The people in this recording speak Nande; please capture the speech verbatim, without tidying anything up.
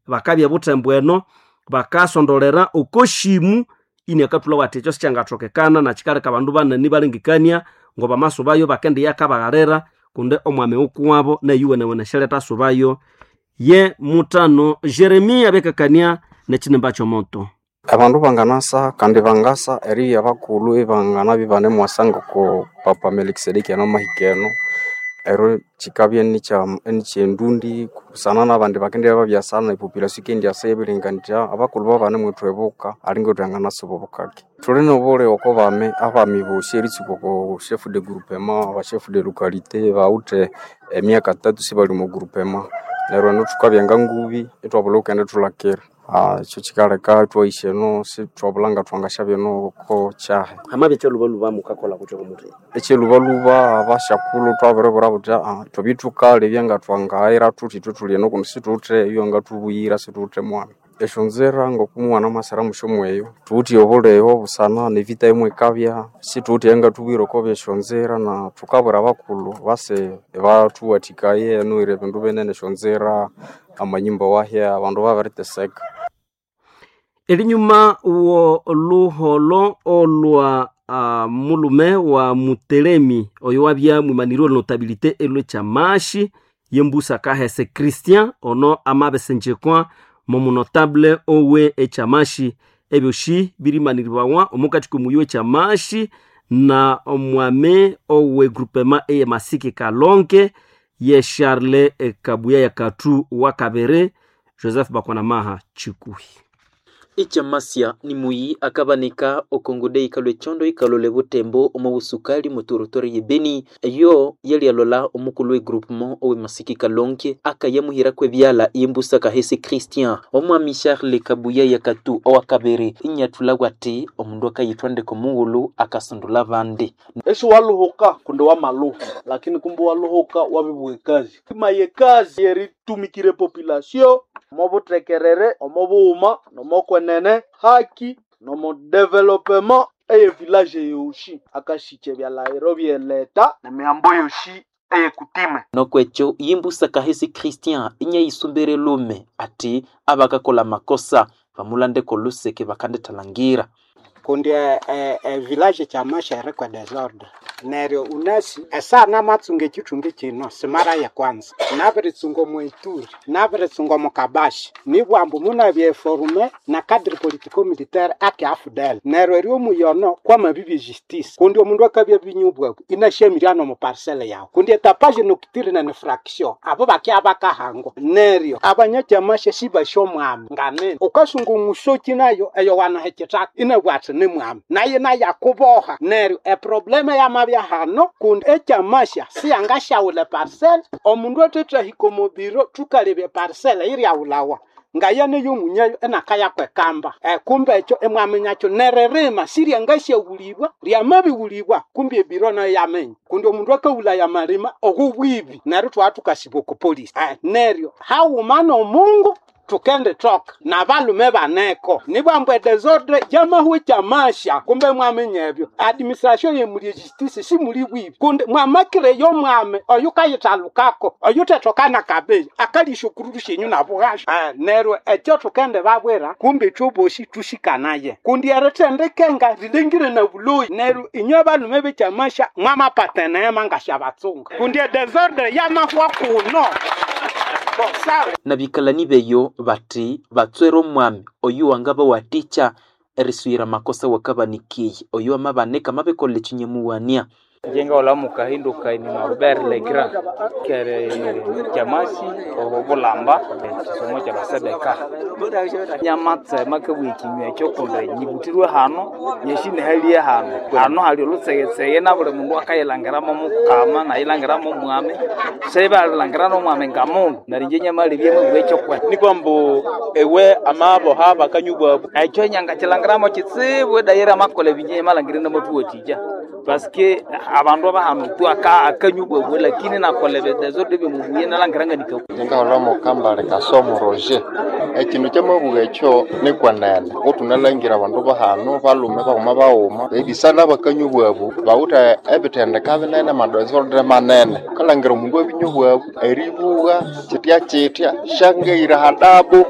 Bakabya buthembu eno bakasondolera okoshimu iniakathulha wathi ekyo sikyangathokekana na kikaleka abandu banene ibalengekania ngo bamasubayo bakendiya akabaghalira kundi omwami wukuwabo neyuwenewene syaleta subayo ye mutano. Jeremia abekakania nekinimba kyomoto. Abandu banganasa kandi bangasa eribya bakulhu ibanganabya ibanemwasa ngoko Papa Melikisedeki anamahika eno, ero kikabya inikyendundu busana nabandi bakendibya babyasa nepopulation yikendyasa iyabirilengekania indi abakulhu babanemwithwebuka alinga ithwanganasiba obukake. Thuli nobulhi oko bami, abami bosi eritsuka oko chef de groupement, aba chef de localité bawithe emyaka tatu sibali omo groupement neryo eno thukabya ngangubi ithwabulha wukendithulhakira. Ekyo kikaleka ithwayisya eno sithwabulha ngathwangasyabya eno oko kyahi. Hamabya ekyalhubalhuba mukakolha kuki omuthima? Ekyalhubalhuba abasyakulhu thwabiribwira buthi thwabya thukalebya ngathwangayira thuthi ithwe thuli eno kundi sithuwithe eyangathubuyira sithuwithe mwami. Esyonzira ngoku mughana musyomu eyo thuwithe obuligho busana nevita yomwikabya sithuwithe eyangathubuyira oko byesyonzira na thukabwira abakulhu base bathuwathikaye erinuhira ebindu binene esyonzira, amanyumba wahya abandu babiriteseka. Erinyuma wo luholo olwa uh, mulume wa Mutelemi oyo wabya mwimanirwe notabilité elwe kyamashi yembusa kahese Christian ono amabesenjekwa momunotable owe ekyamashi ebyoshi birimaniribawa omukati komuyi wekyamashi na omwame owe groupement eye Masiki Kalonke ye Charles Kabuya ya Katu wa Kabere Joseph Bakwanamaha Chikuhi. Ekyamasya ni muyi akabanika okongude ikalwa ekyondo ikalole butembo omu busukali mu territory ye Beni eyo yalialola omukulu we groupement owe Masiki Kalonke akayamuhiraku ebyala yembusa kahesi Christian. Omwami Charles Kabuya yakatu owakabere inyathulagwa ati omundu akayithwa ndeke omughulhu akasundula abandi. Esi waluhuka kundi wamaluha lakini kumbe waluhuka wabibugha ekazi imaye ekazi eritumikira population omo buthekerere omo bughuma nomokwenene haki nomo developement eye village yoshi akasikya ebyalahiro byeleta nemihambo yoshi eyekutime. Nokwekyo yimbusa kahesi Christian inyayisumbire lume ati abakakola makosa bamulandeko luseke bakandithalangira. Kundi e village kyamasha erikwa desordre neryo unasi esaha namatsunga ekithungi kino simara ya kwanza nabiritsunga omu Ituri nabiritsunga omu Kabashi nibwambu munabya eforume na cadre politico militaire ake A F D L neryo eri omuyono kwamabibya justice kundi omundu akabya binyubwaku inasyamirya nomu parcelle yawu kundi etapage nocturne ne fraction abo bakya bakahangwa neryo abanyakyamasha sibasya omwami nganene ukasunga omusoki nayo eyo wanaha ekithaka inabwa ati ni mwami naye nayakuboha neryo eprobleme yamabya hano kundi ekyamasha siyangasyawula eparcelle omundu athetahika omu biro thukalebya eparcelle iryawulawa ngaya neyomunyayo enakayakwekamba e, kumbe ekyo emwaminyakyo neririma siryangasyawulibwa ryamabiwulibwa kumbe ebiro nayo yaminya kundi omundu akawulaya amalima ogwo bwibi neryo thwathukasiba oko polisi e, neryo haghuma nomungu tukendithoka nabalume baneko nibwambu edesordre yamahwa ekyamasha kumbe mwaminya ebyo administration yemuli ejustice simuli bwibi kundi mwamakire yomwami oyukayithalukako oyuthethoka kabeyi akalisha okururu syenyu nabughasha eh, neryo ekyo thukendibabwira kumbe ithwe bosi thusikanaye kundi erithendikenga rilengire na buloyi neryo inywe abalume bekyamasha mwamapata eneema ngasyabatsunga kundi edesordre yamahwa kuno. Nabikalani beyo bati batswere omwami oyu wangabawathikya erisuyira makosa wakabanikiye oyu amabanika mabikolha ekyinyamuwania. Njenga olamu kahindu kaini Norbert Legrand kere kyamasi obulamba ekisomo kyabasebeka nyamatsema kabwa ekinywa ekyo kundi nyibutirwe hano nyeshinehalie hano hano hali olutsegetsege na buli mundu akayilangiramo mukama nayilangiramo mwami sebalilangirana nomwami ngamundu neryo inje nyamalebya mubwa ekyokwene nikwa mbu ewe amaboha bakanyubwabu ekyo nyangakilangiramo kitsibu edayira amakola ebinje nyamalangire namatuwathikya. Paske abandu abahano tu aka akanywa bwabwe lakini nakola désordre byemubuye nalangiranga Ngaholha mukambale Kasomo Roger. Ekindu kyamabuga ekyo nikwenene kuthunalhangira abandu bahano balume baghuma baghuma ebisana bakanywa obwabu bawithe ebithendeka binene amadesordre manene wukalhangira omundu abinywa obwabu eribugha kyithya kyithya syangaira hadabu.